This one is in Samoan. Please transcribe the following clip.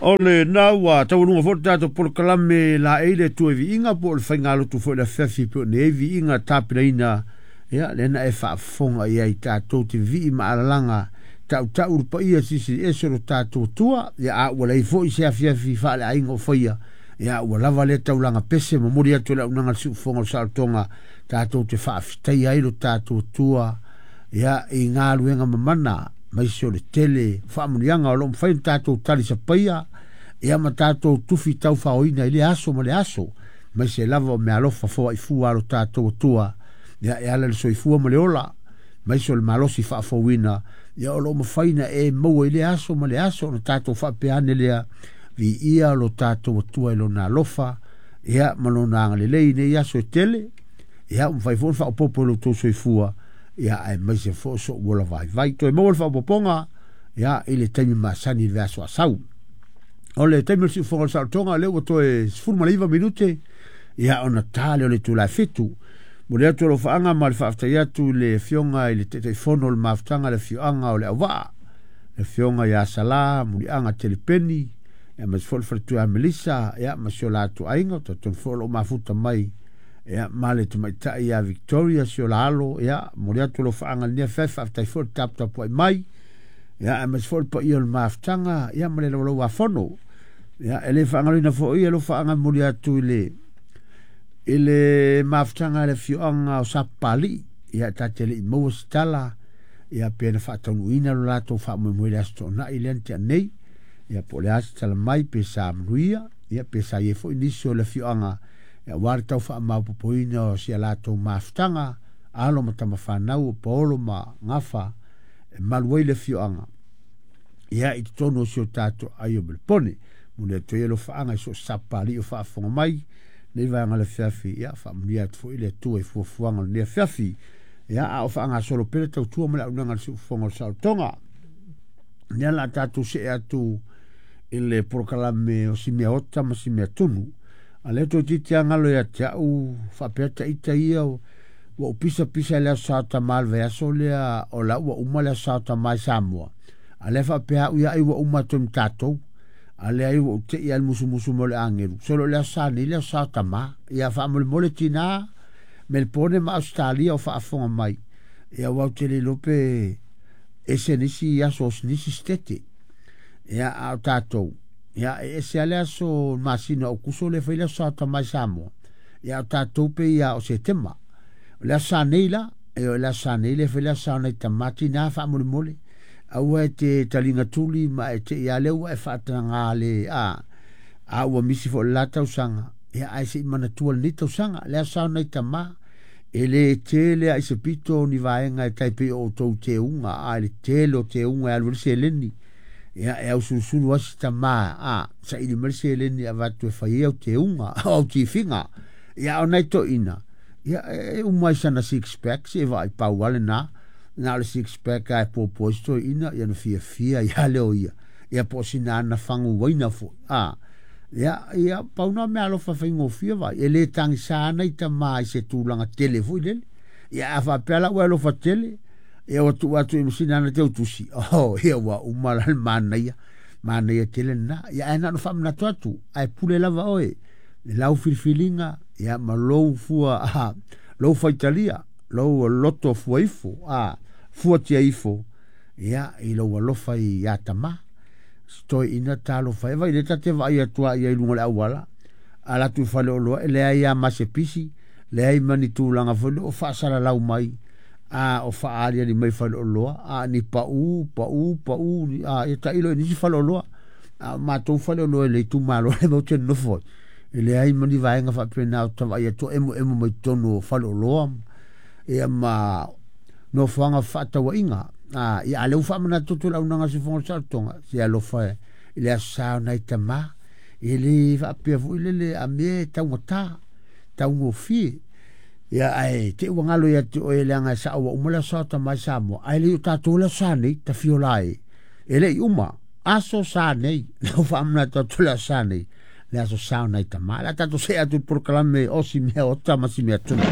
O lena ua taualuga foi le tatou polokalame laei le Atua i viiga po o le faigalotu foi i le afiafi pei ona i ai viiga tapenaina, ia lea na e faafofoga i ai tatou te vivii ma alalaga tautau le paia silisili ese o lo tatou Atua. Ia a ua leai foi se afiafi faaleaiga o faia, ia ua lava lea taulaga pese momoli atu e le auaunaga a le Siufofoga o le Saolotoga tatou te faafetaia ai lo tatou Atua ia i galuega mamana maise o le tele o faamanuiaga o lo o mafai ona tatou talisapaia ia ma tatou tufi taufaoina i lea aso ma le aso, maise lava o meaalofa foaifua a lo tatou Atua ia e ala i le soifua ma le ola maise o le malosi faafouina ia o lo o mafai ona e maua i lea aso ma le aso ona tatou faapea ane lea, viia lo tatou Atua i lona alofa ia ma lona agalelei i nei aso e tele ia ua mafai foi ona faaopoopo i lo outou soifua ia aemaise foi o so'u ola vaivai. Toe maua le faaopoopoga ia i le taimi masani i le vaiaso a sau. O le taimi o le siufofoga o le saolotoga lea ua toe 19 minute ia ona ta lea o le itula e 7. Momoli atu alofaaga ma le faafetai atu i le Afioga i le Taitaifono o le Mafutaga le Afioaga o Leauvaa, le Afioga ia Sala Muliaga Telepeni, ia aemaise foi le faletua ia Melissa, ia ma si o latou aiga, talitonu foi o lo o mafuta mai ia ma le tamaitai ia Victoria si o la alo, ia momoli atu alofaaga i lenei afiafi, faafetai foi le taputapuai mai, ia aemaise foi le paia o le mafutaga, ia ma le laulauafono. Ia e le faagaloina foi alofaaga e momoli atu i le mafutaga a le afioaga o Sapapalii, ia ta te le i maua se tala ia pe na faataunuuina lo latou faamoemoe i le Aso Toonai lea na tea nei, ia po o le a se tala mai pe sa manuia, ia pe sa i ai foi nisi o le afioaga ia aua le tau faamaopoopoina o si a latou mafutaga, alo ma tamafanau o Paolo ma Gafa e malu ai le afioaga ia i totonu o si o tatou aiga o Melepone. Momoli atu ai alofaaga i so o se Sapapalii o faafofoga mai nei vaega o le afiafi, ia faamanuia atu foi le Atua i fuafuaga o lenei afiafi. Ia a o faagasolo pea le tautua ma le auaunaga a le Siufofoga o le Saolotoga. Lea o le a tatou see atu i le polokalame o si mea ota ma si mea tunu. A lea toeitiiti lava galo ia te au faapea ita ia ua ou pisapisa i le Aso Sa o Tama i le vaiaso lea o la ua uma le Aso Sa o Tama i Samoa. A lea faapea au ia ai ua uma atu ai ma tatou. A lea ai ua ou tei lava i le musumusu mai o le agelu. Solo o le Aso Sa nei le Aso Sa o Tama. Ia faamolemole tina Melbourne ma Ausetalia o faafofoga mai. Ia aua ou te le iloa pe ese nisi aso o nisi sitete. Ia a o tatou, ia e ese lava le aso masina o Aokuso lea e fai le Aso Sa o Tama i Samoa. Ia a o tatou pei lava o Setema. O le Aso Sa nei la, e o le Aso Sa nei lea e fai le Aso Sa o nai tama tina faamolemole. Aua e te taliga tuli ma e te i a lea ua e faatagaga le a ua misi foi le la tausaga. Ia ae se i manatua lenei tausaga, le Aso Sa o nai tama. E le tele lava i se pito ni vaega e tai pei o outou teuga, a i le tele o teuga e alu ai le seleni. Ia e ausulusulu lava si tama, a saili mai le seleni e avatu e fai ai au teuga, o au tifiga. Ia a o nai toeaiina, ia e uma i sana six pack se i vaai pau lava lena. Na o le six pack lava e puapua ai si toeaina, ia ona fiafia ai lava lea o ia. Ia po o sina ana fagu uaina foi, a. Ia, ia pau na o meaalofa faigofie vai. E le tagisa ana i tama i se tulaga tele foi lele. Ia a faapea la ua e alofa tele, ia ua tuu atu i ma sina ana teutusi, oh, ia ua uma la le manaia, manaia tele lena. Ia ae na ona faamanatu atu, ae pule lava oe i lau filifiliga, ia ma lou fua, a, lou faitalia, lou loto fua ifo, a, fuatia ifo, ia, i lou alofa ia tama. Si toeaina talofa e, vai lea ta te vaai atu a ia i luga o le auala, ala atu i faleoloa, e leai lava ma se pisi, leai ma ni tulaga foi lea o faasalalau mai, a o faaaliali mai faleoloa, a ni pau, pau, pau, a ia tailo i nisi faleoloa. A o matou faleoloa i le itumalo lea matou te nonofo ai, e leai ma ni vaega faapena o ta vaai atu o emoemo mai totonu o faleoloa, ia ma nofoaga fefaatauaiga. A, ia, a lea ua faamanatu atu e le auaunaga a le Siufofoga o le Saolotoga, se alofa i le Aso Sa o nai tama, e le faapea foi lele a mea e taugata, taugofie. Ia, ae te i ua galo ia te oe leaga e sao ua uma le Aso Sa o Tama i Samoa, ae le i o tatou le Aso Sa nei, tafiola e, e le i uma. Aso Sa nei, lea ua faamanatu atu le Aso Sa nei, le Aso Sa o nai tama. O le a tatou see atu i le polokalame o si mea ota ma si mea tunu.